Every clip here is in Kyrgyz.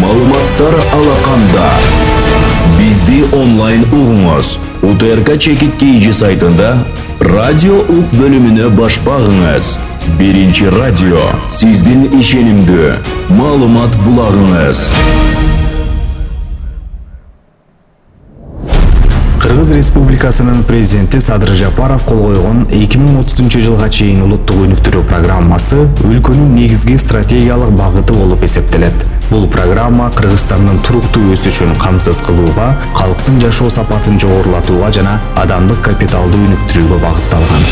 Маалыматтар алаканда. Бизди онлайн угуңуз. УТРК Чекит KG сайтында радио ук бөлүмүнө баш багыңыз. Биринчи радио сиздин ишенимдүү маалымат булагыңыз. Кыргыз Республикасынын президенти Садыр Жапаров кол койгон 2030-жылга чейин улуттук өнүктүрүү программасы өлкөнүн негизги стратегиялык багыты болуп эсептелет. Бул программа Кыргызстандын туруктуу өсүшүн камсыз кылууга, калктын жашоо сапатын жогорулатууга жана адамдык капиталды өнүктүрүүгө багытталган.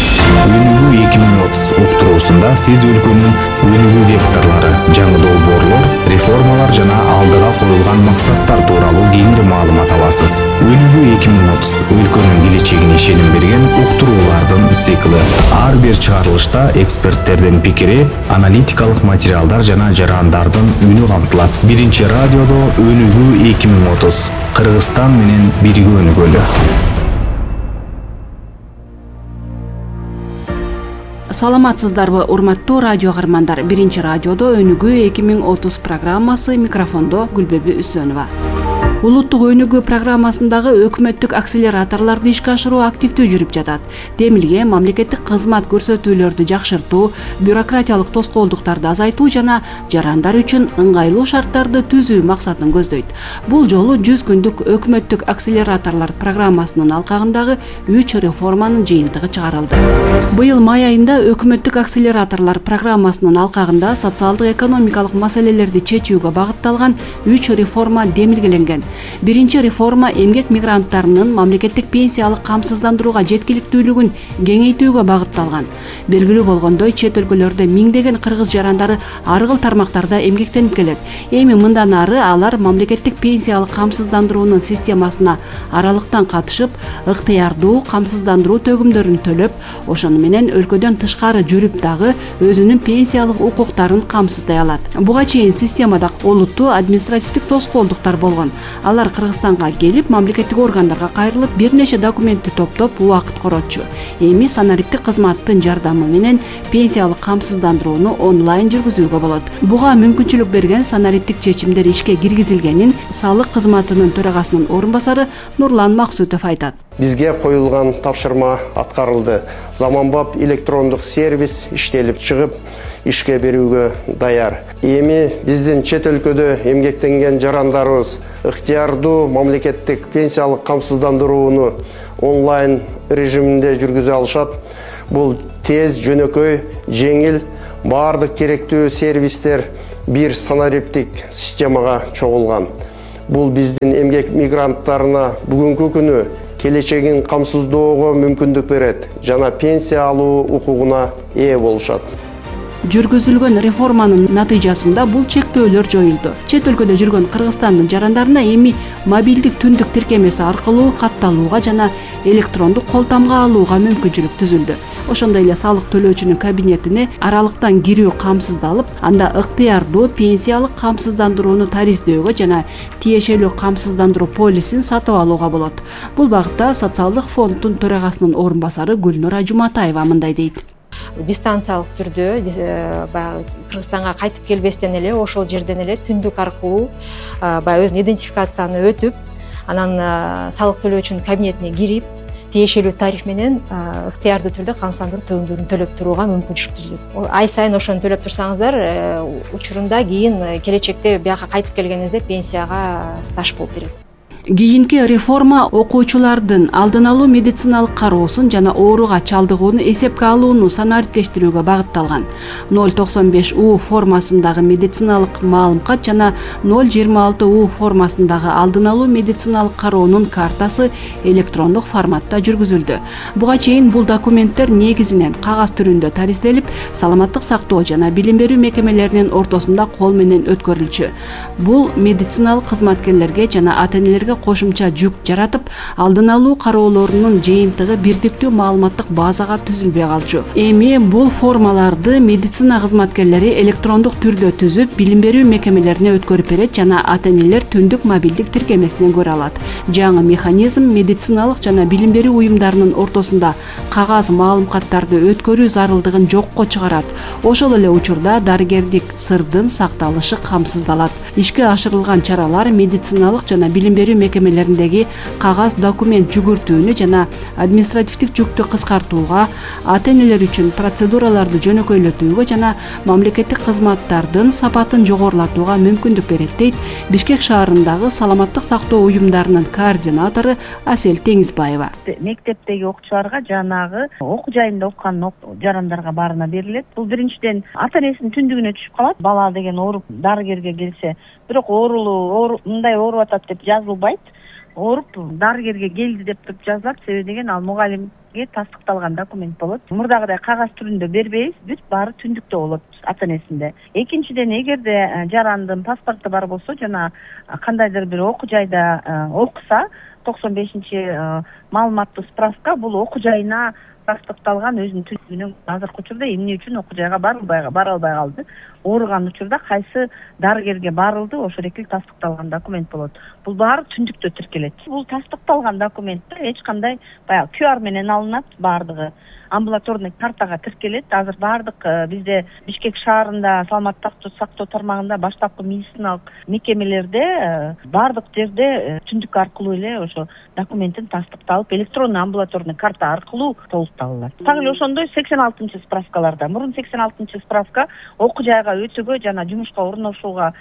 Өнүгүү 2030 уктуруусунда сиз өлкөнүн өнүгүү векторлору, жаңы долбоорлор, реформалар жана алдыга коюлган максаттар тууралуу кеңири маалымат аласыз. Өнүгүү 2030 өлкөнүн келечегине ишеним берген уктуруулардын циклы. Ар бир чыгарылышта эксперттердин пикири, аналитикалык материалдар жана жарандардын үнү камтылат. Биринчи радиодо Өнүгүү 2030. Кыргызстан менен бирге өнүгөлү. Саламатсыздарбы, урматтуу радио каармандар. Биринчи радиодо Өнүгүү 2030 программасы, микрофондо Гүлбеби Үсөнова. Улуттук өнүгүү программасындагы өкмөттүк акселераторлорду ишке ашыруу активдүү жүрүп жатат. Демилге мамлекеттик кызмат көрсөтүүлөрдү жакшыртуу, бюрократиялык тоскоолдуктарды азайтуу жана жарандар үчүн ыңгайлуу шарттарды түзүү максатын көздөйт. Бул жолу 100 күндүк өкмөттүк акселераторлор программасынын алкагындагы 3 реформанын жыйынтыгы чыгарылды. Быйыл май айында өкмөттүк акселераторлор программасынын алкагында социалдык экономикалык маселелерди чечүүгө багытталган 3 реформа демилгеленген. Биринчи реформа эмгек мигранттарынын мамлекеттик пенсиялык камсыздандырууга жеткиликтүүлүгүн кеңейтүүгө багытталган. Белгилүү болгондой, чет өлкөлөрдө миңдеген кыргыз жарандары ар кыл тармактарда эмгектенип келет. Эми мындан ары алар мамлекеттик пенсиялык камсыздандыруунун системасына аралыктан катышып, ыктыярдуу камсыздандыруу төгүмдөрүн төлөп, ошону менен өлкөдөн тышкары жүрүп дагы өзүнүн пенсиялык укуктарын камсыздай алат. Буга чейин системада олуттуу административдик тоскоолдуктар болгон. Алар Кыргызстанга келип, мамлекеттик органдарга кайрылып, бир нече документти топтоп убакыт коротчу. Эми санариптик кызматтын жардамы менен пенсиялык камсыздандырууну онлайн жүргүзүүгө болот. Буга мүмкүнчүлүк берген санариптик чечимдер ишке киргизилгенин салык кызматынын төрагасынын орун басары Нурлан Максутов айтат. Бизге коюлган тапшырма аткарылды. Заманбап электрондук сервис иштелип чыгып, ишке берүүгө даяр. Эми биздин чет өлкөдө эмгектенген жарандарыбыз ыктыярдуу мамлекеттик пенсиялык камсыздандырууну онлайн режиминде жүргүзө алышат. Бул тез, жөнөкөй, жеңил, баардык керектүү сервистер бир санариптик системага чогулган. Бул биздин эмгек мигранттарына бүгүнкү күнү келечегин камсыздоого мүмкүндүк берет жана пенсия алуу укугуна ээ болушат. Жүргүзүлгөн реформанын натыйжасында бул чектөөлөр жоюлду. Чет өлкөдө жүргөн Кыргызстандын жарандарына эми мобилдик түндүк тиркемеси аркылуу катталууга жана электрондук кол тамга алууга мүмкүнчүлүк түзүлдү. Ошондой эле салык төлөөчүнүн кабинетине аралыктан кирүү камсыздалып, анда ыктыярдуу пенсиялык камсыздандырууну тариздөөгө жана тиешелүү камсыздандыруу полисин сатып алууга болот. Бул багытта социалдык фонддун төрагасынын орун басары Гүлнура Жуматаева мындай дейт. Дистанциялык түрдө Кыргызстанга кайтып келбестен эле ошол жерден эле түндүк аркылуу өзүнүн идентификацияны өтүп, анан салык төлөөчүнүн кабинетине кирип, тиешелүү тариф менен ыктыярдуу түрдө камсыздандыруу төлөмдөрүн төлөп турууга мүмкүнчүлүк түзүлөт. Ай сайын ошону төлөп турсаңыздар, учурунда кийин келечекте бияка кайтып келгениңизде пенсияга стаж болуп берет. Кийинки реформа окуучулардын алдын алуу медициналык кароосун жана ооруга чалдыгууну эсепке алууну санариптештирүүгө багытталган. 095U формасындагы медициналык маалымкат жана 026U формасындагы алдын алуу медициналык кароонун картасы электрондук форматта жүргүзүлдү. Буга чейин бул документтер негизинен кагаз түрүндө таризделип, саламаттык сактоо жана билим берүү мекемелеринин ортосунда кол менен өткөрүлчү. Бул медициналык кызматкерлерге жана ата-энелерге кошумча жүк жаратып, алдын алуу кароолорунун жыйынтыгы бирдиктүү маалыматтык базага түзүлбөй калчу. Эми бул формаларды медицина кызматкерлери электрондук түрдө түзүп, билим берүү мекемелерине өткөрүп берет жана ата-энелер түндүк мобилдик тиркемесинен көрө алат. Жаңы механизм медициналык жана билим берүү уюмдарынын ортосунда кагаз маалыматтарды өткөрүү зарылдыгын жокко чыгарат. Ошол эле учурда дарыгердик сырдын сакталышы камсыздалат. Ишке ашырылган чаралар медициналык жана билим берүү мекемелериндеги кагаз документ жүгүртүүнү жана административдик жүктү кыскартууга, ата-энелер үчүн процедураларды жөнөкөйлөтүүгө жана мамлекеттик кызматтардын сапатын жогорулатууга мүмкүндүк берет, дейт Бишкек шаарындагы саламаттык сактоо уюмдарынын координатору Асел Теңизбаева. Мектептеги окуучуларга жанагы окуу жайында окуган жарандарга баарына берилет. Бул биринчиден ата-энесинин түндүгүнө түшүп калат. Бала деген ооруп дарыгерге келсе, бирок мындай ооруп атат деп жазылбайт. Ооруп дарыгерге келди деп туруп жазылат. Себеби деген ал мугалимге тастыкталган документ болот. Мурдагыдай кагаз түрүндө бербейбиз, бүт баары түндүктө болот ата-энесинде. Экинчиден, эгерде жарандын паспорту бар болсо жана кандайдыр бир окуу жайда окуса, 95-чи маалыматтуу справка бул окуу жайына тастыкталган өзүнүн түндүгүнөн. Азыркы учурда эмне үчүн окуу жайга бара албай калды? Ооруган учурда кайсы дарыгерге барылды, ошол экил тастыкталган документ болот. Бул баары түндүктө тиркелет. Бул тастыкталган документте эч кандай баягы QR менен алынат, баардыгы амбулаторный картага тиркелет. Азыр баардык бизде Бишкек шаарында саламаттык сактоо тармагында баштапкы медициналык мекемелерде баардык жерде түндүк аркылуу эле ошо документтин тастыкталып, электронный амбулаторный карта аркылуу толукталат. Так эле ошондой 86-чы справкаларда. Мурун 86-чы справка окуу жайга өтүүгө жана жумушка орношууга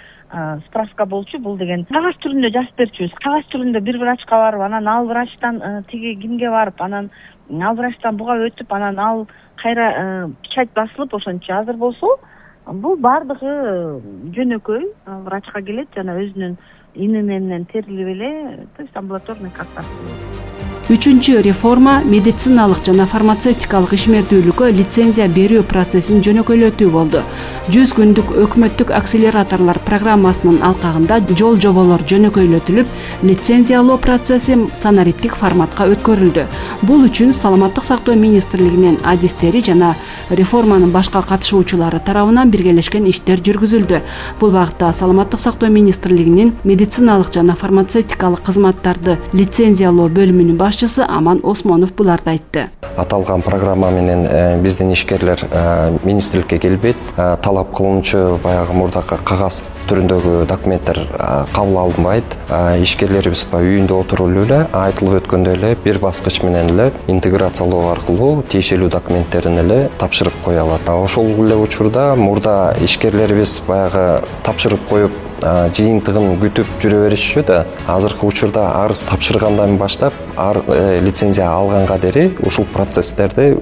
справка болчу. Бул деген кагаз түрүндө жазып берчүбүз. Кагаз түрүндө бир врачка барып, анан ал врачтан тиги кимге барып, анан ал врачтан буга өтүп, анан ал кайра печать басылып ошончо. Азыр болсо бул баардыгы жөнөкөй. Врачка келет жана өзүнүн ими менен терилип эле, то есть амбулаторный карта. Үчүнчү реформа медициналык жана фармацевтикалык ишмердүүлүккө лицензия берүү процессин жөнөкөйлөтүү болду. 100 күндүк өкмөттүк акселераторлор программасынын алкагында жол жоболор жөнөкөйлөтүлүп, лицензиялоо процесси санариптик форматка өткөрүлдү. Бул үчүн Саламаттык сактоо министрлигинин адистери жана реформанын башка катышуучулары тарабынан биргелешкен иштер жүргүзүлдү. Бул багытта Саламаттык сактоо министрлигинин медициналык жана фармацевтикалык кызматтарды лицензиялоо бөлүмүнүн Аман Осмонов буларды айтты. Аталган программа менен биздин ишкерлер министрликке келбейт. Талап кылынчу баягы мурдакы кагаз түрүндөгү документтер кабыл алынбайт. Ишкерлерибиз үйүндө отуруп эле айтылып өткөндөй эле бир баскыч менен эле интеграциялоо аркылуу тиешелүү документтерин эле тапшырып кое алат. Ошол эле учурда мурда ишкерлерибиз баягы тапшырып коюп жыйынтыгын күтүп жүрө беришчү да. Азыркы учурда арыз тапшыргандан баштап лицензия алганга дери ушул процесстерди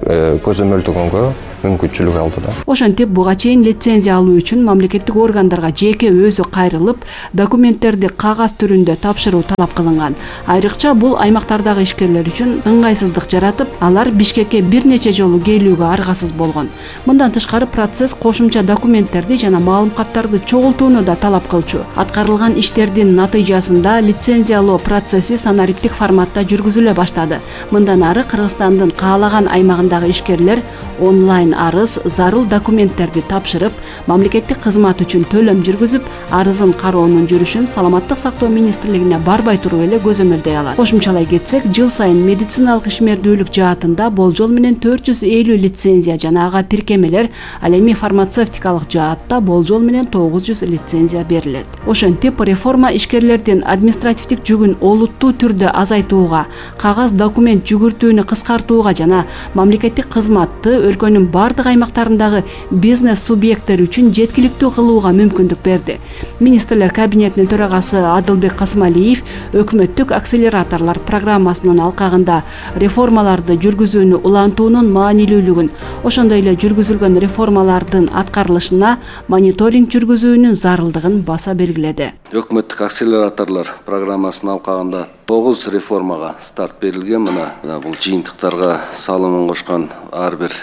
көзөмөлдөгөнгө мүмкүнчүлүк алды да. Ошентип буга чейин лицензия алуу үчүн мамлекеттик органдарга жеке өзү кайрылып, документтерди кагаз түрүндө тапшыруу талап кылынган. Айрыкча бул аймактардагы ишкерлер үчүн ыңгайсыздык жаратып, алар Бишкекке бир нече жолу келүүгө аргасыз болгон. Мындан тышкары процесс кошумча документтерди жана маалыматтарды чогултууну да талап кылчу. Аткарылган иштердин натыйжасында лицензиялоо процесси санариптик форматта жүргүзүлө баштады. Мындан ары Кыргызстандын каалаган аймагындагы ишкерлер онлайн арыз, зарыл документтерди тапшырып, мамлекеттик кызмат үчүн төлөм жүргүзүп, арызын кароонун жүрүшүн Саламаттык сактоо министрлигине барбай туруп эле көзөмөлдөй алат. Кошумчалай кетсек, жыл сайын медициналык ишмердүүлүк жаатында болжол менен 450 лицензия жана ага тиркемелер, ал эми фармацевтикалык жаатта болжол менен 900 лицензия берилет. Ошентип, реформа ишкерлердин административдик жүгүн олуттуу түрдө азайтууга, кагаз документ жүгүртүүнү кыскартууга жана мамлекеттик кызматты өлкөнүн бардык аймактарындагы бизнес субъекттери үчүн жеткиликтүү кылууга мүмкүндүк берди. Министрлер кабинетинин төрагасы Адылбек Касымалиев өкмөттүк акселераторлор программасынын алкагында реформаларды жүргүзүүнү улантуунун маанилүүлүгүн, ошондой эле жүргүзүлгөн реформалардын аткарылышына мониторинг жүргүзүүнүн зарылдыгын баса белгиледи. Өкмөттүк акселераторлор программасынын алкагында 9 реформага старт берилген. Мына бул жыйынтыктарга салымын кошкон ар бир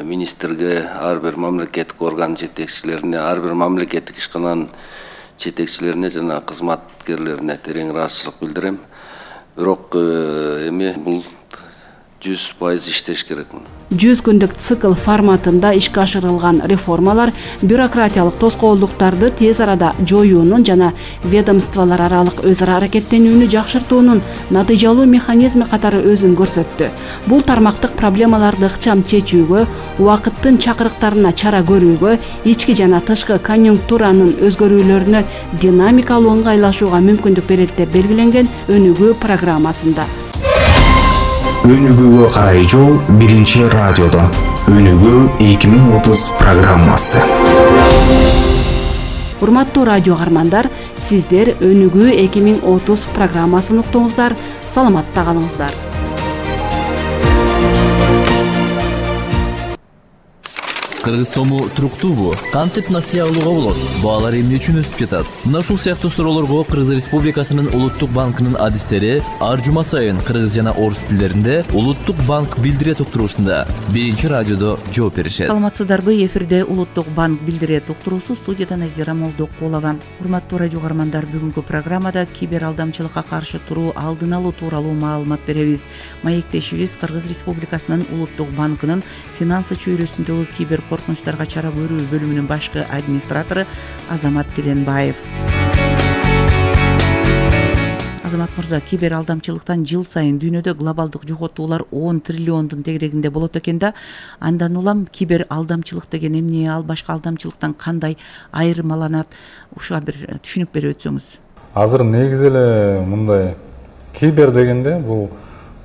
министрге, ар бир мамлекеттик орган жетекчилерине, ар бир мамлекеттик ишкананын жетекчилерине жана кызматкерлерине терең ыраазычылык билдирем. бирок эми бул 100% иштеш керек. 100 күндүк цикл форматында ишке ашырылган реформалар бюрократиялык тоскоолдуктарды тез арада жоюунун жана ведомстволор аралык өз ара аракеттенүүнү жакшыртуунун натыйжалуу механизми катары өзүн көрсөттү. Бул тармактык проблемаларды ыкчам чечүүгө, убакыттын чакырыктарына чара көрүүгө, ички жана тышкы конъюнктуранын өзгөрүүлөрүнө динамикалуу ыңгайлашууга мүмкүндүк берет деп белгиленген Өнүгүү программасында. Өнүгүүгө карай жол биринчи радиодо. Өнүгүү 2030 программасы. Урматтуу радио каармандар, сиздер Өнүгүү 2030 программасын уктуңуздар. Саламатта калыңыздар. Кыргыз сому туруктуубу? Кантип насыя алууга болот? Баалар эмне үчүн өсүп жатат? Мына ушул сыяктуу суроолорго Кыргыз Республикасынын Улуттук банкынын адистери ар жума сайын кыргыз жана орус тилдеринде Улуттук банк билдирет уктуруусунда биринчи радиодо жооп беришет. Саламатсыздарбы? Эфирде Улуттук банк билдирет уктуруусу, студияда Назира Молдокулова. Урматтуу радио каармандар, бүгүнкү программада кибер алдамчылыкка каршы туруу, алдын алуу тууралуу маалымат беребиз. Маектешибиз Кыргыз Республикасынын Улуттук банкынын финансы чөйрөсүндөгү кибер коркунучтарга чара көрүү бөлүмүнүн башкы администратору Азамат Тиленбаев. Азамат мырза, кибер алдамчылыктан жыл сайын дүйнөдө глобалдык жоготуулар 10 триллиондун тегерегинде болот экен да. Андан улам кибер алдамчылык деген эмне, ал башка алдамчылыктан кандай айырмаланат? Ушуга бир түшүнүк берип өтсөңүз. Азыр негизи эле мындай кибер дегенде бул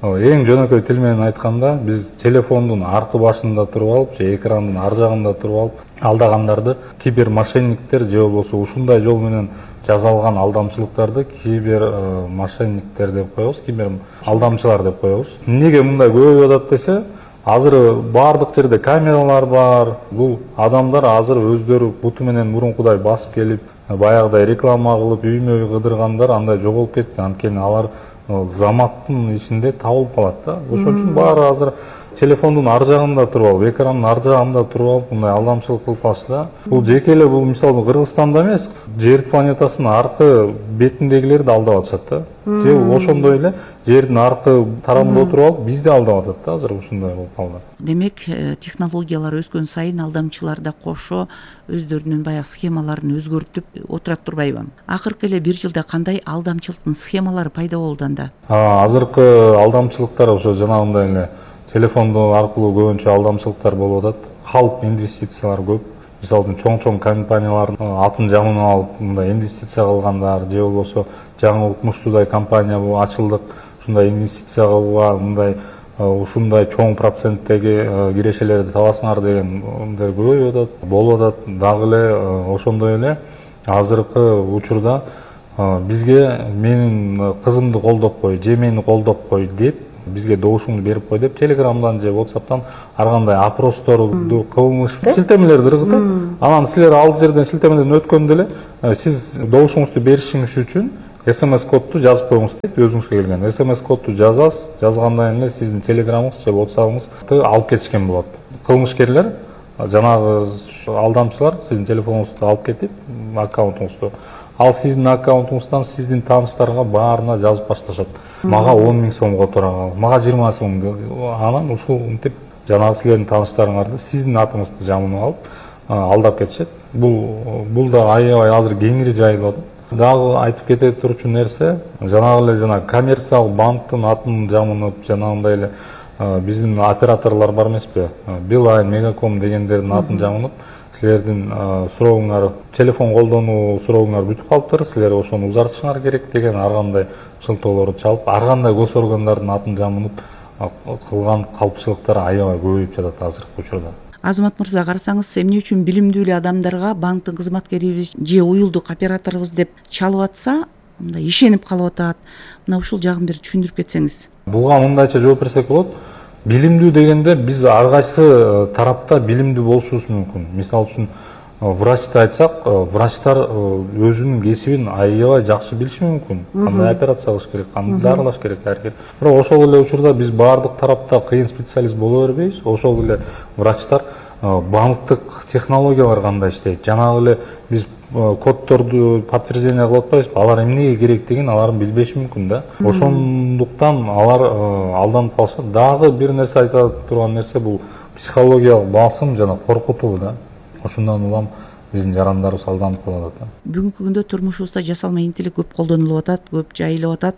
эң жөнөкөй тил менен айтканда биз телефондун аркы башында туруп алып же экрандын ар жагында туруп алып алдагандарды кибер мошенниктер же болбосо ушундай жол менен жасалган алдамчылыктарды кибер мошенниктер деп коебуз, кибер алдамчылар деп коебуз. Эмнеге мындай көбөйүп атат десе, азыр баардык жерде камералар бар. Бул адамдар азыр өздөрү буту менен мурункудай басып келип, баягыдай реклама кылып, үймө кыдыргандар андай жоголуп кетти. Анткени алар заматтын ичинде табылып калат да. Ошон үчүн баары азыр телефондун ар жагында туруп алып, экрандын ар жагында туруп алып мындай алдамчылык кылып калышты да. Бул жеке эле бул мисалы Кыргызстанда эмес, жер планетасынын аркы бетиндегилерди алдап атышат да. Же ошондой эле жердин аркы тарабында туруп алып бизди алдап атат да, азыр ушундай болуп калды. Демек, технологиялар өскөн сайын алдамчылар да кошо өздөрүнүн баягы схемаларын өзгөртүп отурат турбайбы? Акыркы эле бир жылда кандай алдамчылыктын схемалары пайда болду анда? Азыркы алдамчылыктар ошо жанагындай эле телефондо аркылуу көбүнчө алдамчылыктар болуп атат. Калп инвестициялар көп. Мисалы чоң компаниялардын атын жамын алып, мындай инвестиция кылгандар, же болбосо жаңы укмуштуудай компания ачылдык, ушундай инвестиция кылууга мындай ушундай чоң проценттеги кирешелерди табасыңар деген мындай көбөйүп атат, болуп атат. Дагы эле ошондой эле азыркы учурда бизге менин кызымды колдоп кой, же мени колдоп кой деп, бизге добушуңду берип кой деп Телеграмдан же WhatsApp'тан ар кандай опросторду кылмыш шилтемелерди ыргытып, анан силер ал жерден шилтемеден өткөндө эле сиз добушуңузду беришиңиз үчүн SMS кодду жазып коюңуз дейт, өзүңүзгө келген. SMS кодду жазасыз, жазгандан эле сиздин Телеграмыңыз же WhatsApp'ыңызды алып кетишкен болот. Кылмышкерлер, жанагы алдамчылар сиздин телефонуңузду алып кетип, аккаунтуңузду, ал сиздин аккаунтуңуздан сиздин тааныштарга баарына жазып башташат. Мага 10 000 сом которган, мага 20 сом. Анан ушул мынтип жанагы силердин тааныштарыңарды сиздин атыңызды жамынып алып алдап кетишет. Бул да аябай азыр кеңири жайылып атат. Дагы айтып кете турчу нерсе, жанагы эле жана коммерциялык банктын атын жамынып, жанагындай эле биздин операторлор бар эмеспи? Билайн, Мегаком дегендердин атын жамынып, силердин сурооңар, телефон колдонуу сурооңар бүтүп калыптыр, силер ошону узартышыңар керек деген ар кандай шылтоолорду чалып, ар кандай госоргандардын атын жамынып кылган калпчылыктар аябай көбөйүп жатат азыркы учурда. Азамат мырза, карасаңыз, эмне үчүн билимдүү эле адамдарга банктын кызматкерибиз же уюлдук операторубуз деп чалып атса, мындай ишенип калып атат. Мына ушул жагын бир түшүндүрүп кетсеңиз. Буга мындайча жооп берсек болот. Билимдүү дегенде биз ар кайсы тарапта билимдүү болушубуз мүмкүн. Мисалы үчүн врачты айтсак, врачтар өзүнүн кесибин аябай жакшы билиши мүмкүн. Кандай операция кылыш керек, кандай дарылаш керек, бирок ошол эле учурда биз баардык тарапта кыйын специалист боло бербейбиз. Ошол эле врачтар банктык технологиялар кандай иштейт, жанагы эле биз коддорду подтверждение кылып атпайбызбы, алар эмнеге керектигин алар билбеши мүмкүн да. Ошондуктан алар алданып калышат. Дагы бир нерсе айта турган нерсе бул психологиялык басым жана коркутуу да. Ошондон улам биздин жарандарыбыз алданып калып атат. Бүгүнкү күндө турмушубузда жасалма интеллект көп колдонулуп атат, көп жайылып атат.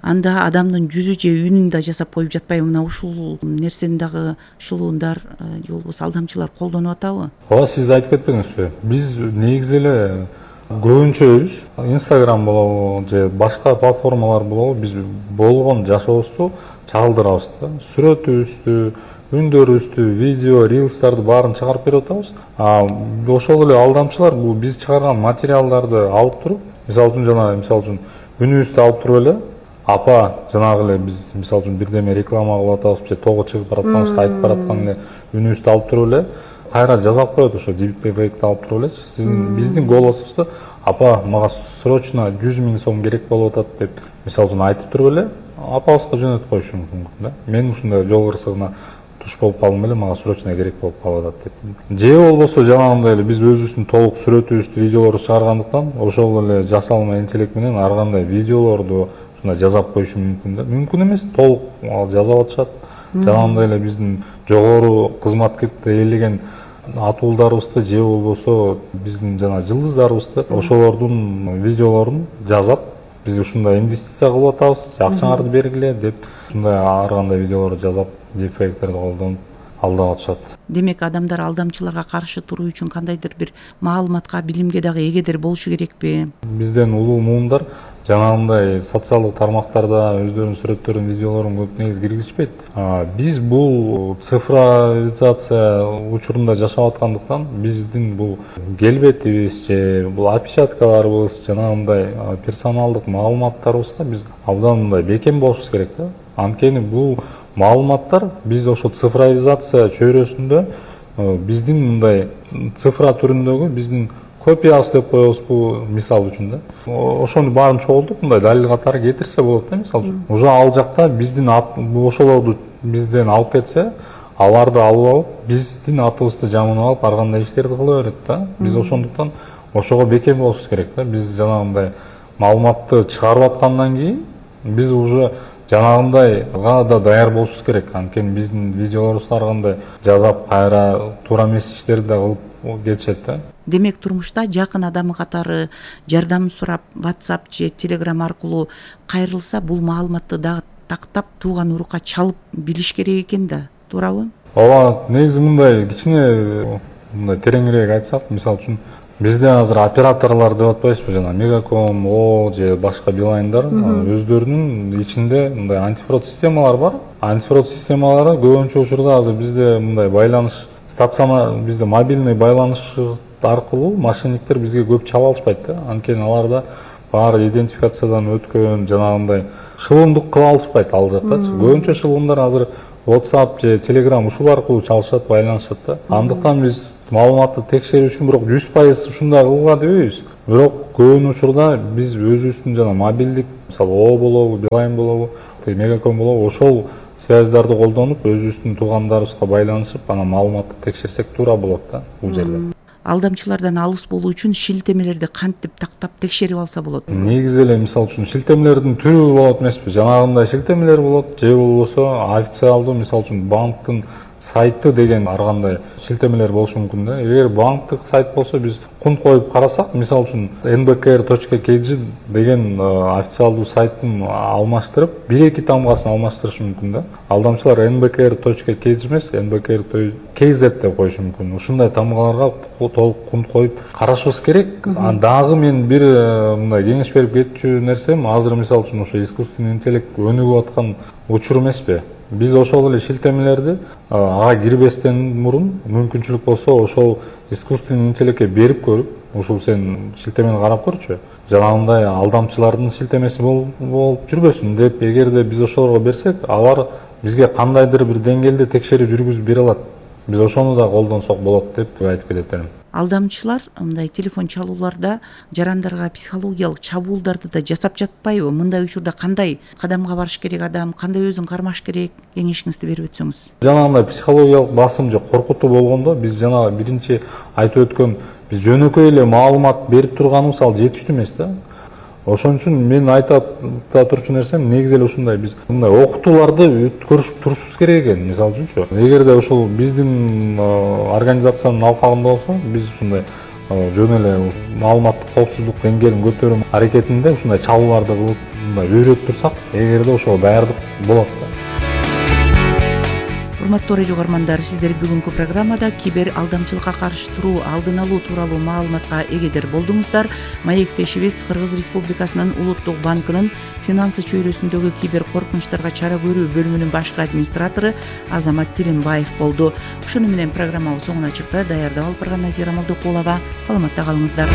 Анда адамдын жүзү же үнүн да жасап коюп жатпайбы? Мына ушул нерсени дагы шылуундар же болбосо алдамчылар колдонуп атабы? Ооба, сиз айтып кетпеңизби? Биз негизи эле көбүнчөбүз Instagram болобу же башка платформалар болобу, биз болгон жашообузду чагылдырабыз да. Сүрөтүбүздү, үндөрүбүздү, видео, рилстарды баарын чыгарып берип атабыз. Ошол эле алдамчылар бул биз чыгарган материалдарды алып туруп, мисалы үчүн үнүбүздү алып туруп эле, апа жанагы эле биз мисалы үчүн бирдеме реклама кылып атабыз же тоого чыгып баратканыбызды айтып бараткан эле үнүбүздү алып туруп эле кайра жазап коет, ошо дипфейкти алып туруп элечи. Сиздин биздин голосубузду апа мага срочно 100 000 сом керек болуп атат деп мисалы үчүн айтып туруп эле апабызга жөнөтүп коюшу мүмкүн да. Мен ушундай жол кырсыгына туш болуп калдым эле, мага срочно керек болуп калып атат деп. Же болбосо жанагындай эле биз өзүбүздүн толук сүрөтүбүздү, видеолорду чыгаргандыктан ошол эле жасалма интеллект менен ар кандай видеолорду жазап коюшу мүмкүн да. Мүмкүн эмес, толук жазап атышат. Жанагындай эле биздин жогору кызматкетти ээлеген атуулдарыбызды же болбосо биздин жана жылдыздарыбызды ошолордун видеолорун жазап, биз ушундай инвестиция кылып атабыз, акчаңарды бергиле деп ушундай ар кандай видеолорду жазап, дипфейктерди колдонуп алдап атышат. Демек, адамдар алдамчыларга каршы туруу үчүн кандайдыр бир маалыматка, билимге дагы эгедир болушу керекпи? Бизден улуу муундар жанагындай социалдык тармактарда өздөрүнүн сүрөттөрүн, видеолорун көп негиз киргизишпейт. Биз бул цифровизация учурунда жашап аткандыктан биздин бул келбетибиз же бул опечаткаларыбыз, жанагындай персоналдык маалыматтарыбызга биз абдан мындай бекем болушубуз керек да. Анткени бул маалыматтар биз ошо цифровизация чөйрөсүндө биздин мындай цифра түрүндөгү биздин копиябыз деп коебузбу, мисалы үчүн да. Ошону баарын чогултуп мындай далил катары кетирсе болот да, мисалы үчүн. Уже ал жакта биздин ошолорду бизден алып кетсе, аларды алып алып, биздин атыбызды жамынып алып, ар кандай иштерди кыла берет да. Биз ошондуктан ошого бекем болушубуз керек да. Биз жанагындай маалыматты чыгарып аткандан кийин биз уже жанагындайга да даяр болушубуз керек. Анткени биздин видеолорубузду ар кандай жазап, кайра туура эмес иштерди да кылып кетишет да. Демек, турмушта жакын адамы катары жардам сурап, WhatsApp же Telegram аркылуу кайрылса, бул маалыматты дагы тактап, тууган урукка чалып билиш керек экен да, туурабы? Ооба, негизи мындай кичине мындай тереңирээк айтсак, мисалы үчүн бизде азыр операторлор деп атпайбызбы, жана Мегаком, О же башка Билайндар өздөрүнүн ичинде мындай антифрод системалар бар. Антифрод системалары көбүнчө учурда азыр бизде мындай байланыш бизде мобильный байланыш аркылуу мошенниктер бизге көп чала алышпайт да. Анткени аларда баары идентификациядан өткөн, жанагындай шылымдык кыла алышпайт ал жактачы. Көбүнчө шылымдар азыр WhatsApp же Telegram ушул аркылуу чалышат, байланышат да. Андыктан биз маалыматты текшерүү үчүн бирок 100% ушундай кылууга дебейбиз. Бирок көбүн учурда биз өзүбүздүн жана мобилдик, мисалы О болобу, Билайн болобу, Мегаком болобу, ошол связьдарды колдонуп, өзүбүздүн туугандарыбызга байланышып, анан маалыматты текшерсек туура болот да бул жерде. Алдамчылардан алыс болуу үчүн шилтемелерди кантип тактап текшерип алса болот? Негизи эле мисалы үчүн шилтемелердин түрү болот эмеспи? Жанагындай шилтемелер болот, же болбосо официалдуу, мисалы үчүн банктын сайты деген ар кандай шилтемелер болушу мүмкүн да. Эгер банктык сайт болсо биз кун коюп карасак, мисалы үчүн nbkr.kg деген официалдуу сайттын алмаштырып, 1-2 тамгасын алмаштырышы мүмкүн да. Алдамчылар nbkr.kg эмес, nbkr.kz деп коюшу мүмкүн. Ушундай тамгаларга толук кун коюп карашыбыз керек. Дагы мен бир мындай кеңеш берип кетчү нерсем, азыр мисалы үчүн ошо искусственный интеллект өнүгүп аткан учур эмеспи? Биз ошол эле шилтемелерди ага кирбестен мурун мүмкүнчүлүк болсо ошол искусственный интеллектке берип көрүп, ушул сен шилтемени карап көрчү, жанагындай алдамчылардын шилтемеси болуп жүрбөсүн деп, эгерде биз ошолорго берсек, алар бизге кандайдыр бир деңгээлде текшерүү жүргүзүп бере алат. Биз ошону да колдонсок болот деп айтып кетет элем. алдамчылар мындай телефон чалууларда жарандарга психологиялык чабуулдарды да жасап жатпайбы? Мындай учурда кандай кадамга барыш керек адам, кандай өзүн кармаш керек, кеңешиңизди берип өтсөңүз. Жанагындай психологиялык басым же коркутуу болгондо биз жана биринчи айтып өткөн биз жөнөкөй эле маалымат берип турганыбыз ал жетиштүү эмес да. Ошон үчүн мен айтып турчу нерсем негизи эле ушундай, биз мындай окутууларды көрүшүп турушубуз керек экен. Мисалы үчүнчү, эгерде ушул биздин организациянын алкагында болсо, биз ушундай жөн эле маалыматтык коопсуздук деңгээлин көтөрүү аракетинде ушундай чалууларды кылып мындай үйрөтүп турсак, эгерде ошого даярдык болот да. Урматтуу радио угармандар, сиздер бүгүнкү программада кибер алдамчылыкка каршы туруу, алдын алуу тууралуу маалыматка эгедер болдуңуздар. Маектешибиз Кыргыз Республикасынын Улуттук банкынын финансы чөйрөсүндөгү кибер коркунучтарга чара көрүү бөлүмүнүн башкы администратору Азамат Тилимбаев болду. Ушуну менен программабыз соңуна чыкты. Даярдап алып барган Назира Молдокулова. Саламатта калыңыздар.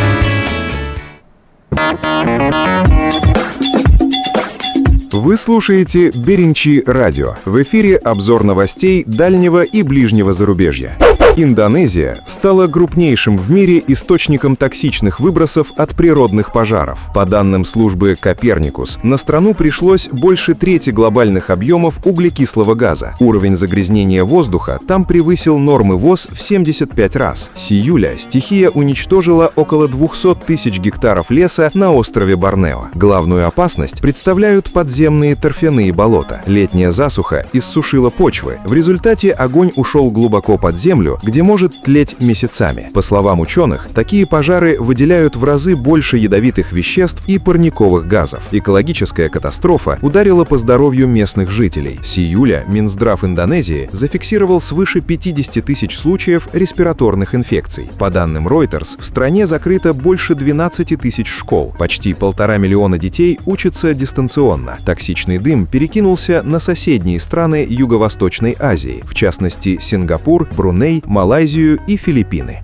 Вы слушаете Беринчи радио. В эфире обзор новостей дальнего и ближнего зарубежья. Индонезия стала крупнейшим в мире источником токсичных выбросов от природных пожаров. По данным службы Коперникус, на страну пришлось больше трети глобальных объемов углекислого газа. Уровень загрязнения воздуха там превысил нормы ВОЗ в 75 раз. С июля стихия уничтожила около 200 тысяч гектаров леса на острове Борнео. Главную опасность представляют подземные торфяные болота. Летняя засуха иссушила почвы. В результате огонь ушел глубоко под землю, где может тлеть месяцами. По словам ученых, такие пожары выделяют в разы больше ядовитых веществ и парниковых газов. Экологическая катастрофа ударила по здоровью местных жителей. С июля Минздрав Индонезии зафиксировал свыше 50 тысяч случаев респираторных инфекций. По данным Reuters, в стране закрыто больше 12 тысяч школ. Почти 1,5 миллиона детей учатся дистанционно. Токсичный дым перекинулся на соседние страны Юго-Восточной Азии, в частности Сингапур, Бруней, Малайзию и Филиппины.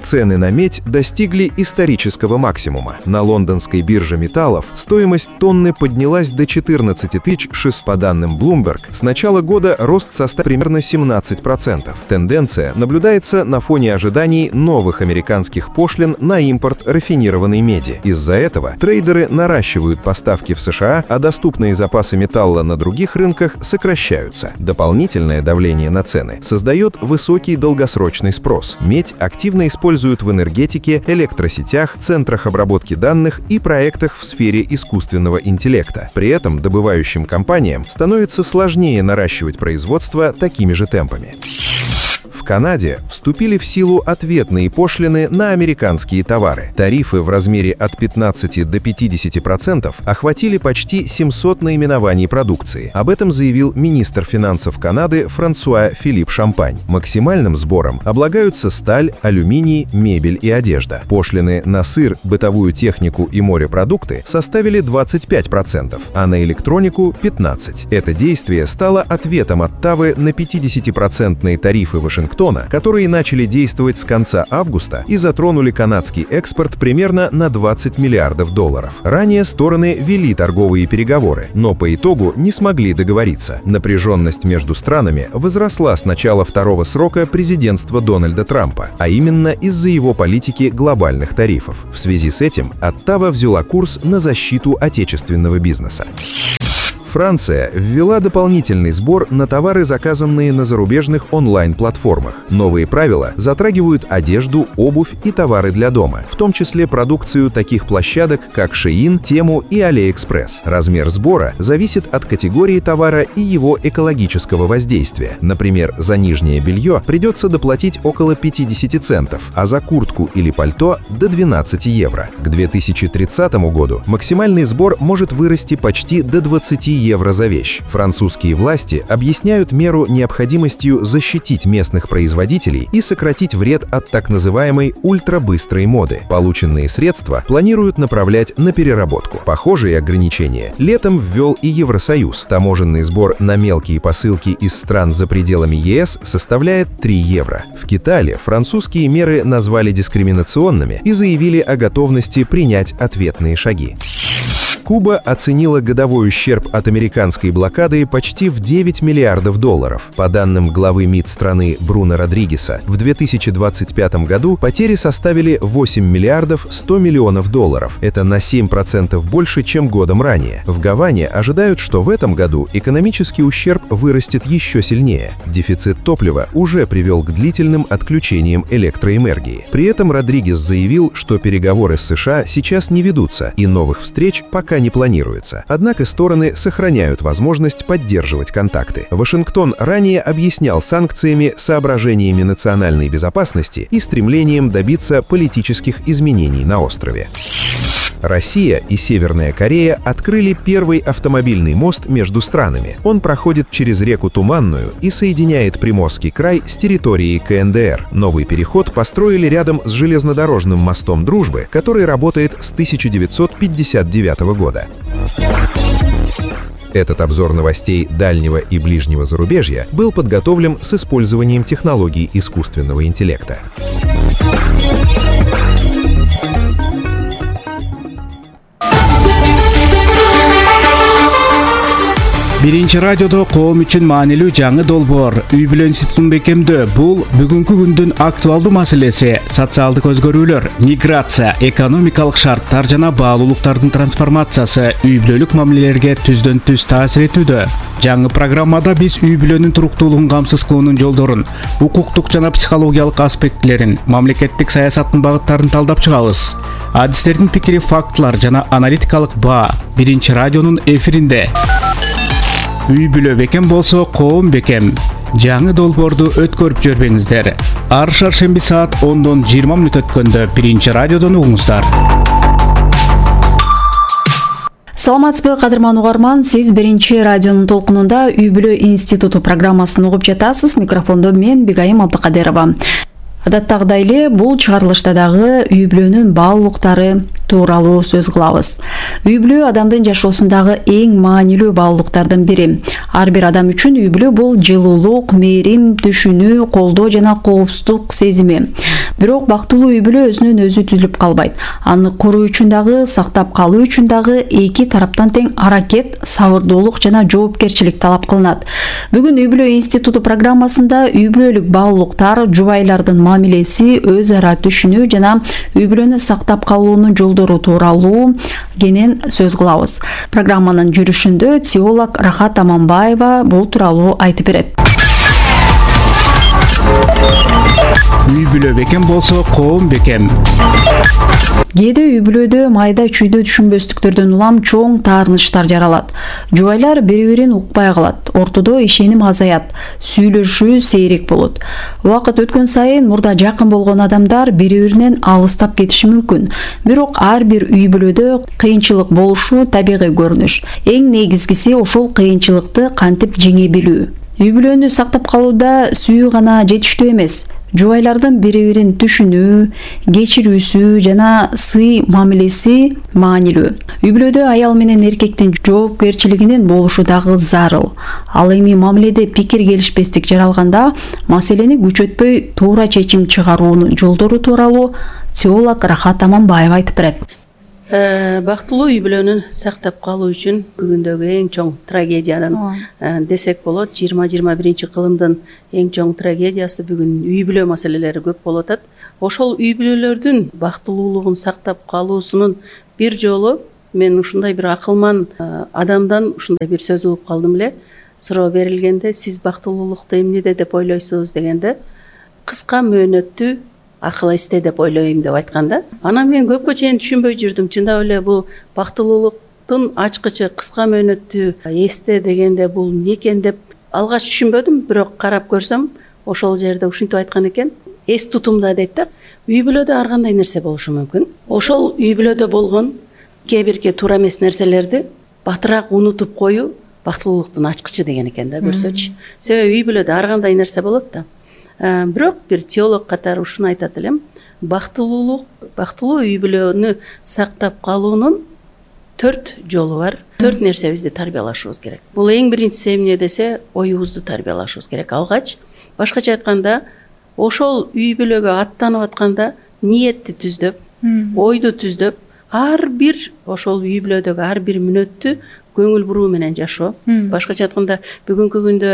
Цены на медь достигли исторического максимума. На лондонской бирже металлов стоимость тонны поднялась до 14 600. По данным Bloomberg, с начала года рост составил примерно 17%. Тенденция наблюдается на фоне ожиданий новых американских пошлин на импорт рафинированной меди. Из-за этого трейдеры наращивают поставки в США, а доступные запасы металла на других рынках сокращаются. Дополнительное давление на цены создает высокий долгосрочный спрос. Медь активно используют в энергетике, электросетях, центрах обработки данных и проектах в сфере искусственного интеллекта. При этом добывающим компаниям становится сложнее наращивать производство такими же темпами. В Канаде вступили в силу ответные пошлины на американские товары. Тарифы в размере от 15 до 50% охватили почти 700 наименований продукции. Об этом заявил министр финансов Канады Франсуа Филипп Шампань. Максимальным сбором облагаются сталь, алюминий, мебель и одежда. Пошлины на сыр, бытовую технику и морепродукты составили 25%, а на электронику – 15%. Это действие стало ответом Оттавы на 50% тарифы Вашингтона, которые начали действовать с конца августа и затронули канадский экспорт примерно на $20 миллиардов. Ранее стороны вели торговые переговоры, но по итогу не смогли договориться. Напряженность между странами возросла с начала второго срока президентства Дональда Трампа, а именно из-за его политики глобальных тарифов. В связи с этим Оттава взяла курс на защиту отечественного бизнеса. Франция ввела дополнительный сбор на товары, заказанные на зарубежных онлайн-платформах. Новые правила затрагивают одежду, обувь и товары для дома, в том числе продукцию таких площадок, как Shein, Temu и AliExpress. Размер сбора зависит от категории товара и его экологического воздействия. Например, за нижнее белье придется доплатить около 50 центов, а за куртку или пальто – до 12 евро. К 2030 году максимальный сбор может вырасти почти до 20 евро за вещь. Французские власти объясняют меру необходимостью защитить местных производителей и сократить вред от так называемой ультрабыстрой моды. Полученные средства планируют направлять на переработку. Похожие ограничения летом ввел и Евросоюз. Таможенный сбор на мелкие посылки из стран за пределами ЕС составляет 3 евро. В Китае французские меры назвали дискриминационными и заявили о готовности принять ответные шаги. Куба оценила годовой ущерб от американской блокады почти в $9 миллиардов. По данным главы МИД страны Бруно Родригеса, в 2025 году потери составили $8 миллиардов 100 миллионов. Это на 7% больше, чем годом ранее. В Гаване ожидают, что в этом году экономический ущерб вырастет еще сильнее. Дефицит топлива уже привел к длительным отключениям электроэнергии. При этом Родригес заявил, что переговоры с США сейчас не ведутся и новых встреч пока не планируется. Однако стороны сохраняют возможность поддерживать контакты. Вашингтон ранее объяснял санкциями соображениями национальной безопасности и стремлением добиться политических изменений на острове. Россия и Северная Корея открыли первый автомобильный мост между странами. Он проходит через реку Туманную и соединяет Приморский край с территорией КНДР. Новый переход построили рядом с железнодорожным мостом Дружбы, который работает с 1959 года. Этот обзор новостей дальнего и ближнего зарубежья был подготовлен с использованием технологий искусственного интеллекта. Биринчи радиодо коом үчүн маанилүү жаңы долбоор үй бүлө институтун бекемдөө. Бул бүгүнкү күндүн актуалдуу маселеси. Социалдык өзгөрүүлөр, миграция, экономикалык шарттар жана баалуулуктардын трансформациясы үй бүлөлүк мамилелерге түздөн түз таасир этүүдө. Жаңы программада биз үй бүлөнүн туруктуулугун камсыз кылуунун жолдорун, укуктук жана психологиялык аспектилерин, мамлекеттик саясаттын багыттарын талдап чыгабыз. Адистердин пикири, фактылар жана аналитикалык баа биринчи радионун эфиринде. Үй бүлө бекем болсо коом бекем. Жаңы долбоорду өткөрүп жүрбөңүздөр. Ар шаршемби саат 10-дон 20 мүнөт өткөндө биринчи радиодон угуңуздар. Саламатсызбы, кадырман угарман, сиз биринчи радионун толкунунда Үй бүлө институту программасын угуп жатасыз. Микрофондо мен Бигайым Абдыкадырова. Адаттагыдай эле бул чыгарылышта дагы үй бүлөнүн баалуулуктары тууралуу сөз кылабыз. Үй бүлө адамдын жашоосундагы эң маанилүү баалуулуктардын бири. Ар бир адам үчүн үй бүлө бул жылуулук, мээрим, түшүнүү, колдоо жана коопсуздук сезими. Бирок бактылуу үй бүлө өзүнөн өзү түзүлүп калбайт. Аны коруу үчүн дагы, сактап калуу үчүн дагы эки тараптан тең аракет, сабырдуулук жана жоопкерчилик талап кылынат. Бүгүн Үй бүлө институту программасында үй бүлөлүк баалуулуктар, жубайлардын мамилеси, өз ара түшүнүү жана үй бүлөнү сактап калуунун жолдору тууралуу кенен сөз кылабыз. Программанын жүрүшүндө теолог Рахат Аманбаева бул тууралуу айтып берет. Үй бүлө бекем болсо коом бекем. Кээде үй бүлөдө майда чүйдө түшүнбөстүктөрдөн улам чоң таарынычтар жаралат. Жубайлар бири-бирин укпай калат, ортодо ишеним азаят, сүйлөшүү сейрек болот. Убакыт өткөн сайын мурда жакын болгон адамдар бири-биринен алыстап кетиши мүмкүн. Бирок ар бир үй бүлөдө кыйынчылык болушу табигый көрүнүш. Эң негизгиси ошол кыйынчылыкты кантип жеңе билүү. Үй бүлөнү сактап калууда сүйүү гана жетиштүү эмес. Жубайлардын бири-бирин түшүнүү, кечирүүсү жана сый мамилеси маанилүү. Үй бүлөдө аял менен эркектин жоопкерчилигинин болушу дагы зарыл. Ал эми мамиледе пикир келишпестик жаралганда маселени күчөтпөй туура чечим чыгаруунун жолдору тууралуу теолог Рахат Аманбаева айтып берет. Бактылуу үй бүлөнү сактап калуу үчүн бүгүндөгү эң чоң трагедиянын десек болот. 20-21 кылымдын эң чоң трагедиясы бүгүн үй бүлө маселелери көп болуп атат. Ошол үй бүлөлөрдүн бактылуулугун сактап калуусунун бир жолу мен ушундай бир акылман адамдан ушундай бир сөз угуп калдым эле. Суроо берилгенде, сиз бактылуулукту эмнеде деп ойлойсуз дегенде, кыска мөөнөттүү акыл эсте деп ойлойм деп айтканда, анан мен көпкө чейин түшүнбөй жүрдүм. Чындап эле бул бактылуулуктун ачкычы кыска мөөнөттүү эсте дегенде бул эмне экен деп алгач түшүнбөдүм, бирок карап көрсөм ошол жерде ушинтип айткан экен. Эс тутумда дейт да, үй бүлөдө ар кандай нерсе болушу мүмкүн. Ошол үй бүлөдө болгон кээ бирки туура эмес нерселерди батыраак унутуп коюу бактылуулуктун ачкычы деген экен да, көрсөчү. Себеби үй бүлөдө ар кандай нерсе болот да. Бирок бир теолог катары ушуну айтат элем, бактылуу үй бүлөнү сактап калуунун 4 жолу бар. 4 нерсебизди тарбиялашыбыз керек. Бул эң биринчиси эмне десе, оюбузду тарбиялашыбыз керек. Алгач, башкача айтканда, ошол үй бүлөгө аттанып атканда ниетти түздөп, ойду түздөп, ар бир ошол үй бүлөдөгү ар бир мүнөттү көңүл буруу менен жашоо. Башкача айтканда бүгүнкү күндө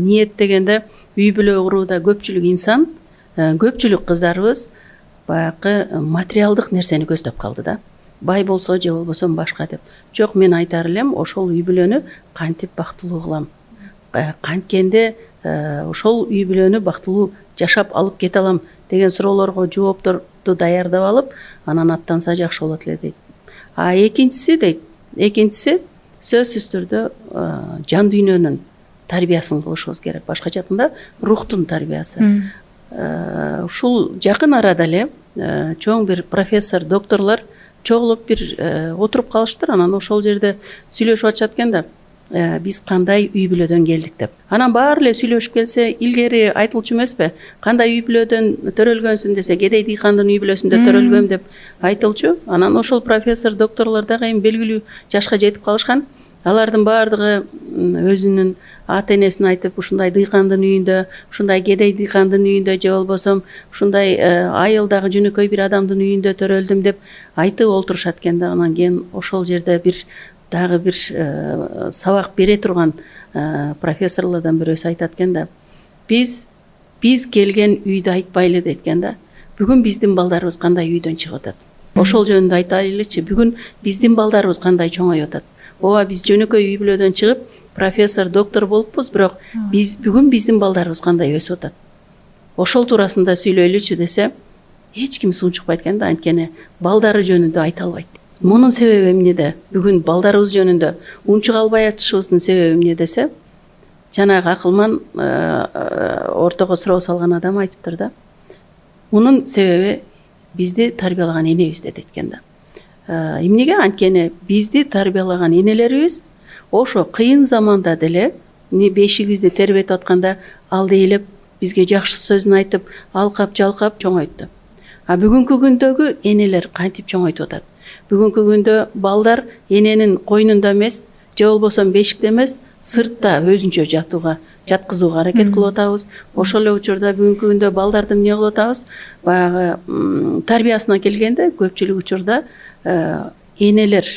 ниет дегенде үй бүлө курууда көпчүлүк инсан, көпчүлүк кыздарыбыз баягы материалдык нерсени көздөп калды да. Бай болсо же болбосо башка деп. Жок, мен айтар элем, ошол үй бүлөнү кантип бактылуу кылам? Канткенде ошол үй бүлөнү бактылуу жашап алып кете алам деген суроолорго жоопторду даярдап алып, анан аттанса жакшы болот эле дейт. Экинчиси сөзсүз түрдө жан дүйнөнүн тарбиясын кылышыбыз керек. Башкача айтканда рухтун тарбиясы. Ушул жакын арада эле чоң бир профессор, докторлор чогулуп бир отуруп калыштыр. Анан ошол жерде сүйлөшүп атышат экен да, биз кандай үй бүлөдөн келдик деп. Анан баары эле сүйлөшүп келсе, илгери айтылчу эмеспи? Кандай үй бүлөдөн төрөлгөнсүң десе, Кедей дыйкандын үй бүлөсүндө төрөлгөм деп айтылчу. Анан ошол профессор, докторлор дагы эми белгилүү жашка жетип калышкан. Алардын баардыгы өзүнүн ата энесин айтып, ушундай дыйкандын үйүндө, ушундай кедей дыйкандын үйүндө же болбосо ушундай айылдагы жөнөкөй бир адамдын үйүндө төрөлдүм деп айтып олтурушат экен да. Анан кийин ошол жерде дагы бир сабак бере турган профессорлордон бирөөсү айтат экен да, биз келген үйдү айтпайлы дейт экен да. Бүгүн биздин балдарыбыз кандай үйдөн чыгып атат? Ошол жөнүндө айтайлычы. Бүгүн биздин балдарыбыз кандай чоңоюп атат? Ооба, биз жөнөкөй үй бүлөдөн чыгып профессор, доктор болуппуз, бирок бүгүн биздин балдарыбыз кандай өсүп атат? Ошол туурасында сүйлөйлүчү десе, эч ким сунчукпайт экен да, анткени балдары жөнүндө айта албайт. Мунун себеби эмнеде? Бүгүн балдарыбыз жөнүндө унчук албай атышыбыздын себеби эмне десе, жанагы акылман ортого суроо салган адам айтыптыр да. Мунун себеби бизди тарбиялаган энебиз дейт экен да. Эмнеге? Анткени бизди тарбиялаган энелерибиз ошо кыйын заманда деле бешигибизди тербетип атканда алдыйлеп бизге жакшы сөзүн айтып, алкап жалкап чоңойтты. А бүгүнкү күндөгү энелер кантип чоңойтуп атат? Бүгүнкү күндө балдар эненин койнунда эмес, же болбосо бешикте эмес, сыртта өзүнчө жаткызууга аракет кылып атабыз. Ошол эле учурда бүгүнкү күндө балдарды эмне кылып атабыз? Баягы тарбиясына келгенде көпчүлүк учурда энелер,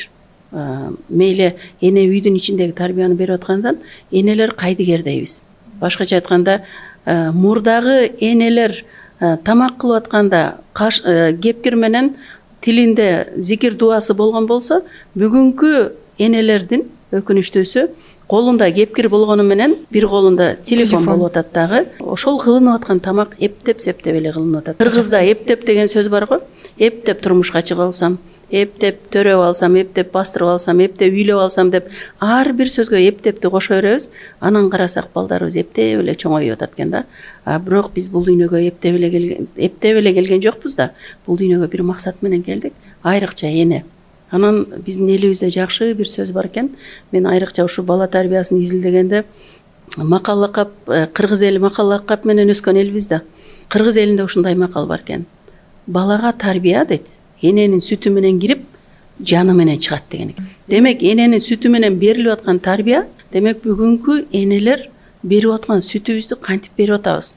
мейли эне үйдүн ичиндеги тарбияны берип аткандан энелер кайдыгер дейбиз. Башкача айтканда, мурдагы энелер тамак кылып атканда кепкир менен тилинде зикир дуасы болгон болсо, бүгүнкү энелердин өкүнүчтүүсү колунда кепкир болгону менен бир колунда телефон болуп атат дагы. Ошол кылынып аткан тамак эптеп-септеп эле кылынып атат. Кыргызда эптеп деген сөз бар го. Эптеп турмушка чыгып алсам, эптеп төрөп алсам, эптеп бастырып алсам, эптеп үйлөп алсам деп ар бир сөзгө эптепти кошо беребиз. Анан карасак балдарыбыз эптеп эле чоңоюп атат экен да. Бирок биз бул дүйнөгө эптеп эле келген жокпуз да. Бул дүйнөгө бир максат менен келдик. Айрыкча эне. Анан биздин элибизде жакшы бир сөз бар экен. Мен айрыкча ушу бала тарбиясын изилдегенде макал лакап, кыргыз эли макал лакап менен өскөн элбиз да. Кыргыз элинде ушундай макал бар экен. Балага тарбия дейт, эненин сүтү менен кирип, жаны менен чыгат деген экен. Демек, эненин сүтү менен берилип аткан тарбия, демек бүгүнкү энелер берип аткан сүтүбүздү кантип берип атабыз?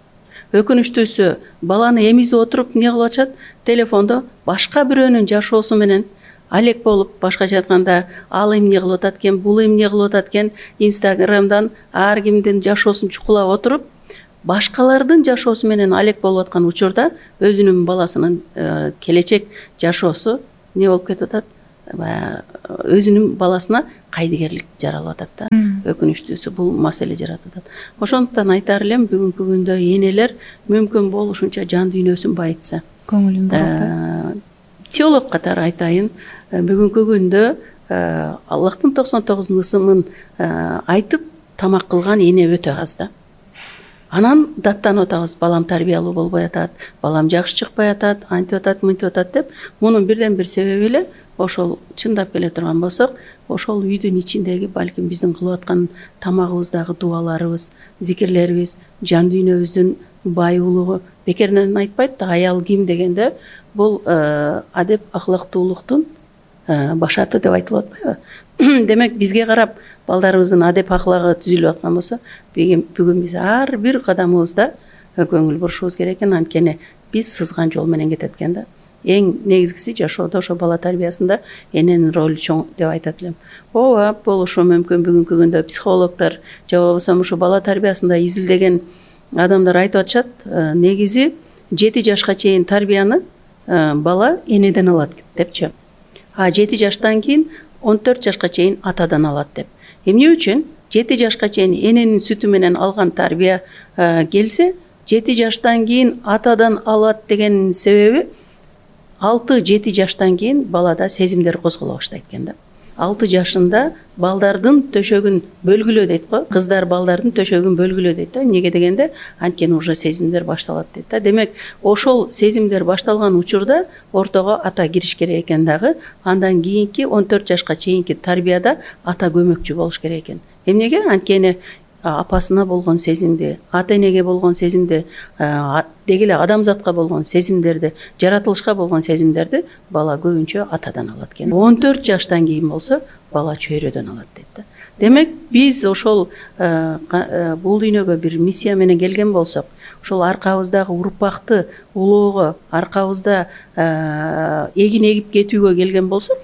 Өкүнүчтүүсү, баланы эмизип отуруп эмне кылып атышат? Телефондо башка бирөөнүн жашоосу менен алек болуп, башкача айтканда, ал эмне кылып атат экен, бул эмне кылып атат экен, Инстаграмдан ар кимдин жашоосун чукулап отуруп, башкалардын жашоосу менен алек болуп аткан учурда өзүнүн баласынын келечек жашоосу эмне болуп кетип атат? Өзүнүн баласына кайдыгерлик жаралып атат да. Өкүнүчтүүсү бул маселе жаратып атат. Ошондуктан айтар элем, бүгүнкү күндө энелер мүмкүн болушунча жан дүйнөсүн байытса. Көңүлүн буруп. Теолог катары айтайын, бүгүнкү күндө Аллахтын 99 ысымын айтып тамак кылган эне өтө аз да. Анан даттанып атабыз, балам тарбиялуу болбой атат, балам жакшы чыкпай атат, антип атат, мынтип атат деп. Мунун бирден бир себеби эле ошол чындап келе турган болсок, ошол үйдүн ичиндеги балким биздин кылып аткан тамагыбыздагы дуаларыбыз, зикирлерибиз, жан дүйнөбүздүн баюулугу. Бекеринен айтпайт да, аял ким дегенде бул адеп ахлактуулуктун башаты деп айтылып атпайбы? Демек, бизге карап балдарыбыздын адеп аклагы түзүлүп аткан болсо, бүгүн биз ар бир кадамыбызда көңүл бурушубуз керек экен. Анткени биз сызган жол менен кетет экен да. эң негизгиси жашоодо ошо бала тарбиясында эненин ролу чоң деп айтат элем. Ооба, болушу мүмкүн бүгүнкү күндө психологдор же болбосо ушу бала тарбиясында изилдеген адамдар айтып атышат, негизи 7 жашка чейин тарбияны бала энеден алат депчи. А 7 жаштан кийин 14 жашка чейин атадан алат деп. Эмне үчүн 7 жашка чейин эненин сүтү менен алган тарбия келсе, 7 жаштан кийин атадан алат деген себеби 6-7 жаштан кийин балада сезимдер козголо баштайт экен да. 6 жашында балдардын төшөгүн бөлгүлөө дейт го. Кыздар балдардын төшөгүн бөлгүлөө дейт да. Эмнеге дегенде анткени уже сезимдер башталат дейт да. Демек, ошол сезимдер башталган учурда ортого ата кириш керек экен дагы. Андан кийинки 14 жашка чейинки тарбияда ата көмөкчү болуш керек экен. Эмнеге? Анткени апасына болгон сезимди, ата энеге болгон сезимди, деги эле адамзатка болгон сезимдерди, жаратылышка болгон сезимдерди бала көбүнчө атадан алат экен. 14 жаштан кийин болсо бала чөйрөдөн алат дейт да. Демек, биз ошол бул дүйнөгө бир миссия менен келген болсок, ошол аркабыздагы урпакты улоого, аркабызда эгин эгип кетүүгө келген болсок,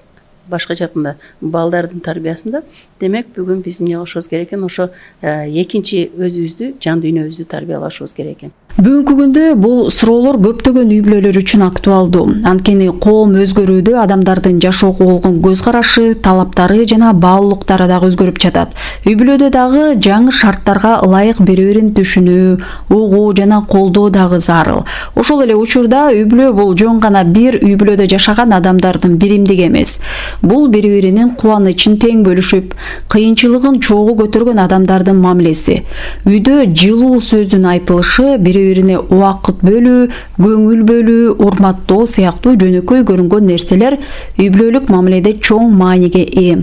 башка жакында балдардын тарбиясында, демек бүгүн биз эмне кылышыбыз керек экен? Ошо экинчи өзүбүздү, жан дүйнөбүздү тарбиялашыбыз керек экен. Бүгүнкү күндө бул суроолор көптөгөн үй бүлөлөр үчүн актуалдуу. Анткени коом өзгөрүүдө адамдардын жашоого болгон көз карашы, талаптары жана баалуулуктары дагы өзгөрүп жатат. Үй бүлөдө дагы жаңы шарттарга ылайык бири-бирин түшүнүү, угуу жана колдоо дагы зарыл. Ошол эле учурда үй бүлө бул жөн гана бир үй бүлөдө жашаган адамдардын биримдиги эмес. Бул бири-биринин кубанычын тең бөлүшүп, кыйынчылыгын чогуу көтөргөн адамдардын мамилеси. Үйдө жылуу сөздүн айтылышы, бири-бирине убакыт бөлүү, көңүл бөлүү, урматтоо сыяктуу жөнөкөй көрүнгөн нерселер үй бүлөлүк мамиледе чоң мааниге ээ.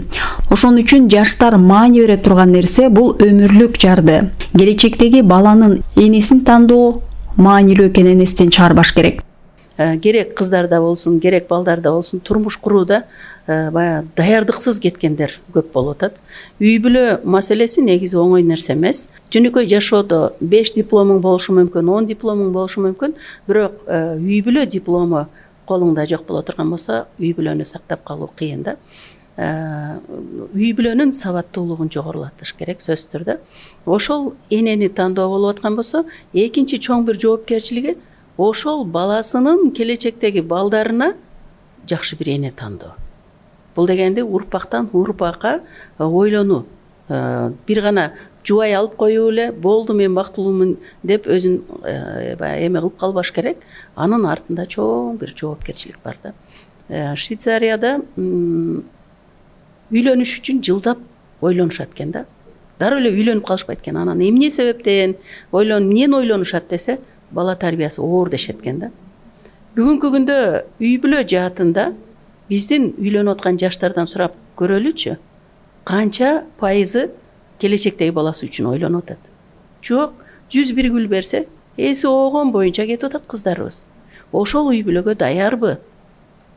Ошон үчүн жаштар маани бере турган нерсе бул өмүрлүк жарды. Келечектеги баланын энесин тандоо маанилүү экенин эстен чыгарбаш керек. Керек кыздарда болсун, керек балдарда болсун, турмуш курууда баягы даярдыксыз кеткендер көп болуп атат. Үй бүлө маселеси негизи оңой нерсе эмес. Жөнөкөй жашоодо 5 дипломуң болушу мүмкүн, 10 дипломуң болушу мүмкүн, бирок үй бүлө диплому колуңда жок боло турган болсо, үй бүлөнү сактап калуу кыйын да. Үй бүлөнүн сабаттуулугун жогорулатыш керек сөзсүз түрдө. Ошол энени тандоо болуп аткан болсо, экинчи чоң бир жоопкерчилиги ошол баласынын келечектеги балдарына жакшы бир эне тандоо. Бул дегенде урпактан урпакка ойлонуу. Бир гана жубай алып коюу эле, болду мен бактылуумун деп өзүн эме кылып калбаш керек. Анын артында чоң бир жоопкерчилик бар да. Швейцарияда үйлөнүш үчүн жылдап ойлонушат экен да. Дароо эле үйлөнүп калышпайт экен. Анан эмне себептен эмнени ойлонушат десе, бала тарбиясы оор дешет экен да. Бүгүнкү күндө үй бүлө жаатында биздин үйлөнүп аткан жаштардан сурап көрөлүчү, канча пайызы келечектеги баласы үчүн ойлонуп атат? Жок, 101 гүл берсе, эси оогон боюнча кетип атат кыздарыбыз. Ошол үй бүлөгө даярбы?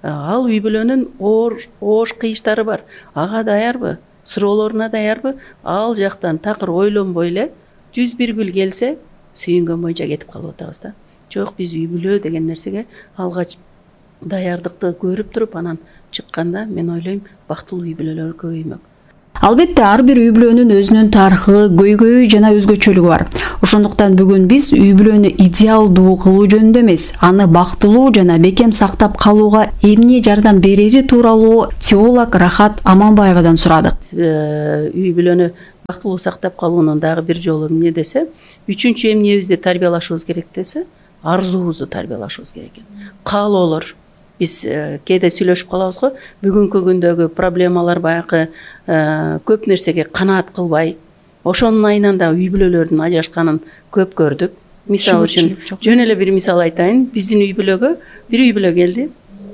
Ал үй бүлөнүн оош кыйыштары бар. Ага даярбы? Суроолоруна даярбы? Ал жактан такыр ойлонбой эле 101 гүл келсе, сүйүнгөн боюнча кетип калып атабыз да. Жок, биз үй бүлө деген нерсеге алгач даярдыкты көрүп туруп, анан чыкканда мен ойлойм, бактылуу үй бүлөлөр көбөймөк. Албетте, ар бир үй бүлөнүн өзүнүн тарыхы, көйгөйү жана өзгөчөлүгү бар. Ошондуктан бүгүн биз үй бүлөнү идеалдуу кылуу жөнүндө эмес, аны бактылуу жана бекем сактап калууга эмне жардам берери тууралуу теолог Рахат Аманбаевадан сурадык. Үй бүлөнү бактылуу сактап калуунун дагы бир жолу эмне десе, үчүнчү эмнебизди тарбиялашыбыз керек десе, арзуубузду тарбиялашыбыз керек экен. Каалоолор. Биз кээде сүйлөшүп калабыз го, бүгүнкү күндөгү проблемалар баягы көп нерсеге канаат кылбай, ошонун айынан да үй бүлөлөрдүн ажырашканын көп көрдүк. Мисалы үчүн, жөн эле бир мисал айтайын. Биздин үй бүлөгө бир үй бүлө келди,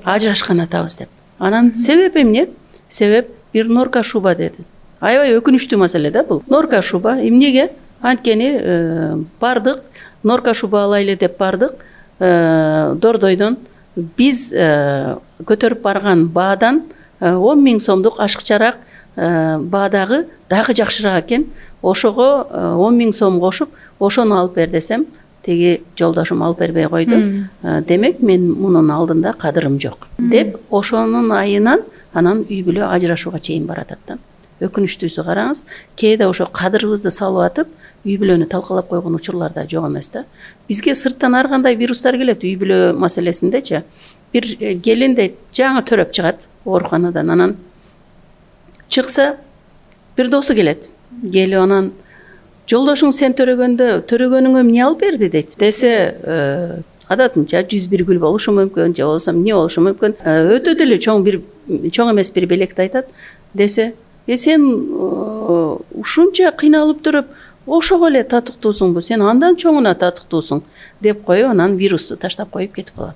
ажырашкан атабыз деп. Анан себеп эмне? Себеп бир норка шуба деди. Аябай өкүнүчтүү маселе да бул. Норка шуба эмнеге? Анткени бардык, норка шуба алайлы деп бардык. Дордойдон биз көтөрүп барган баадан 10 000 сомдук ашыкчараак баадагы дагы жакшыраак экен. Ошого 10 000 сом кошуп, ошону алып бер десем, тиги жолдошум алып бербей койду. Демек мен мунун алдында кадырым жок деп ошонун айынан анан үй бүлө ажырашууга чейин баратат да. Өкүнүчтүүсү караңыз, кээде ошо кадырыбызды салып атып үй бүлөнү талкалап койгон учурлар да жок эмес да. Бизге сырттан ар кандай вирустар келет үй бүлө маселесиндечи. Бир келин дейт, жаңы төрөп чыгат ооруканадан, анан чыкса бир досу келет. Келип анан жолдошуң сен төрөгөнүңө эмне алып берди дейт. Десе адатынча 101 гүл болушу мүмкүн, же болбосо эмне болушу мүмкүн. Өтө деле чоң эмес бир белекти айтат. Десе, сен ушунча кыйналып туруп, ошого эле татыктуусуңбу, сен андан чоңуна татыктуусуң деп коюп, анан вирусту таштап коюп кетип калат.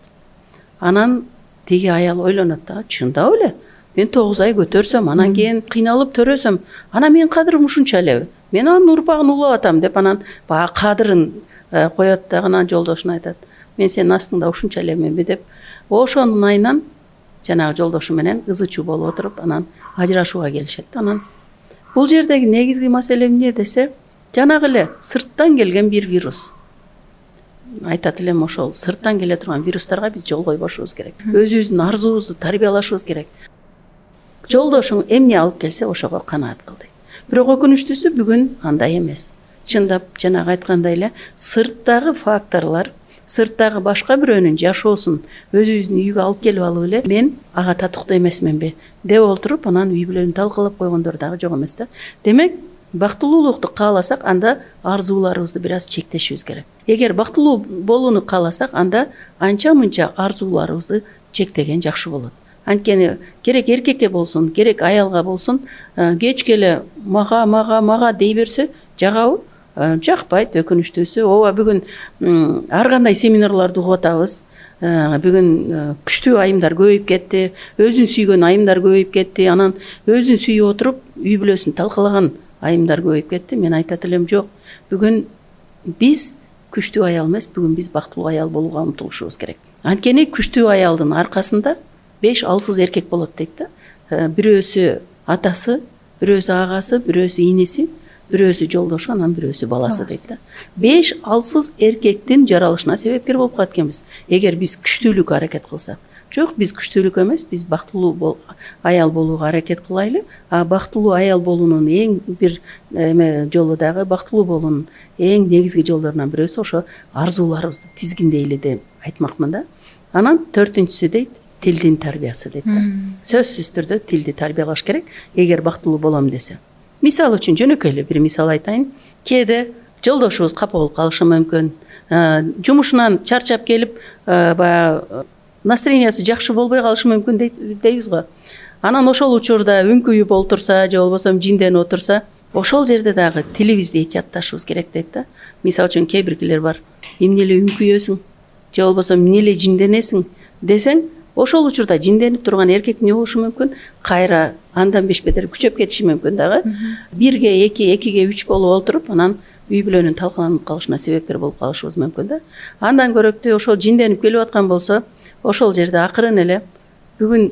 Анан тиги аял ойлонот да, чындап эле. Мен 9 ай көтөрсөм, анан кийин кыйналып төрөсөм, анан мен кадырым ушунча элеби? Мен анын урпагын улап атам деп анан баягы кадырын коет да, анан жолдошуна айтат. Мен сенин астыңда ушунча элеменби деп. Ошонун айынан жанагы жолдошу менен ызы чуу болуп отуруп, анан ажырашууга келишет. Анан бул жердеги негизги маселе эмне десе, жанагы эле сырттан келген бир вирус. Айтат элем, ошол сырттан келе турган вирустарга биз жол койбошубуз керек. Өзүбүздүн арзуубузду тарбиялашыбыз керек. Жолдошуң эмне алып келсе ошого канаат кыл дейт. Бирок өкүнүчтүүсү бүгүн андай эмес. Чындап жанагы айткандай эле сырттагы факторлор, сырттагы башка бирөөнүн жашоосун өзүбүздүн үйгө алып келип алып эле мен ага татыктуу эмесменби деп олтуруп, анан үй бүлөнү талкалап койгондор дагы жок эмес да. Демек, бактылуулукту кааласак, анда арзууларыбызды бир аз чектешибиз керек. Эгер бактылуу болууну кааласак, анда анча-мынча арзууларыбызды чектеген жакшы болот. Анткени керек эркекке болсун, керек аялга болсун, кечке эле мага дей берсе, жагабы? Жакпайт. Өкүнүчтүүсү, ооба бүгүн ар кандай семинарларды угуп атабыз. Бүгүн күчтүү айымдар көбөйүп кетти, өзүн сүйгөн айымдар көбөйүп кетти, анан өзүн сүйүп отуруп үй бүлөсүн талкалаган айымдар көбөйүп кетти. Мен айтат элем, жок. Бүгүн биз күчтүү аял эмес, бүгүн биз бактылуу аял болууга умтулушубуз керек. Анткени күчтүү аялдын аркасында 5 алсыз эркек болот дейт да. Бирөөсү атасы, бирөөсү агасы, бирөөсү инеси, бирөөсү жолдошу, анан бирөөсү баласы дейт да. 5 алсыз эркектин жаралышына себепкер болуп калат экенбиз, эгер биз күчтүүлүккө аракет кылсак. Жок, биз күчтүүлүккө эмес, биз бактылуу аял болууга аракет кылайлы. Бактылуу аял болуунун эң бир жолу дагы, бактылуу болуунун эң негизги жолдорунан бирөөсү ошо арзууларыбызды тизгиндейли деп айтмакмын да. Анан 4-сү дейт, тилдин тарбиясы дейт да. Сөзсүз түрдө тилди тарбиялаш керек, эгер бактылуу болом десе. Мисал үчүн жөнөкөй эле бир мисал айтайын. Кээде жолдошубуз капа болуп калышы мүмкүн. Жумушунан чарчап келип, баягы настроениясы жакшы болбой калышы мүмкүн дейбиз го. Анан ошол учурда үңкүйүп олтурса, же болбосо жинденип отурса, ошол жерде дагы тилибизди этиятташыбыз керек дейт да. Мисал үчүн кээ биркилер бар. Эмне эле үңкүйөсүң, же болбосо эмне эле жинденесиң десең, ошол учурда жинденип турган эркек эмне болушу мүмкүн? Кайра андан бешбетер күчөп кетиши мүмкүн дагы. 1-ге 2, 2-ге 3 болуп олтуруп, анан үй бүлөнүн талкаланып калышына себепкер болуп калышыбыз мүмкүн да. Андан көрөктүү ошол жинденип келип аткан болсо, ошол жерде акырын эле бүгүн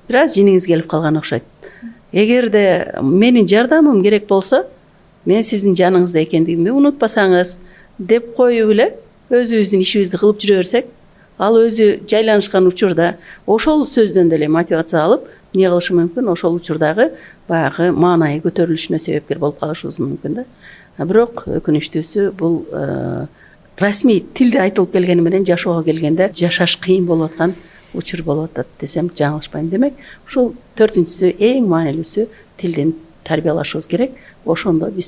бир аз жиниңиз келип калган окшойт. Эгерде менин жардамым керек болсо, мен сиздин жаныңызда экендигимди унутпасаңыз деп коюп эле өзүбүздүн ишибизди кылып жүрө берсек, ал өзү жайланышкан учурда ошол сөздөн деле мотивация алып, эмне кылышы мүмкүн? Ошол учурдагы баягы маанайы көтөрүлүшүнө себепкер болуп калышыбыз мүмкүн да. Бирок өкүнүчтүүсү бул расмий тилде айтылып келгени менен жашоого келгенде жашаш кыйын болуп аткан учур болуп атат десем жаңылышпайм. Демек, ушул 4-сү эң маанилүүсү тилдин тарбиялашыбыз керек. Ошондо биз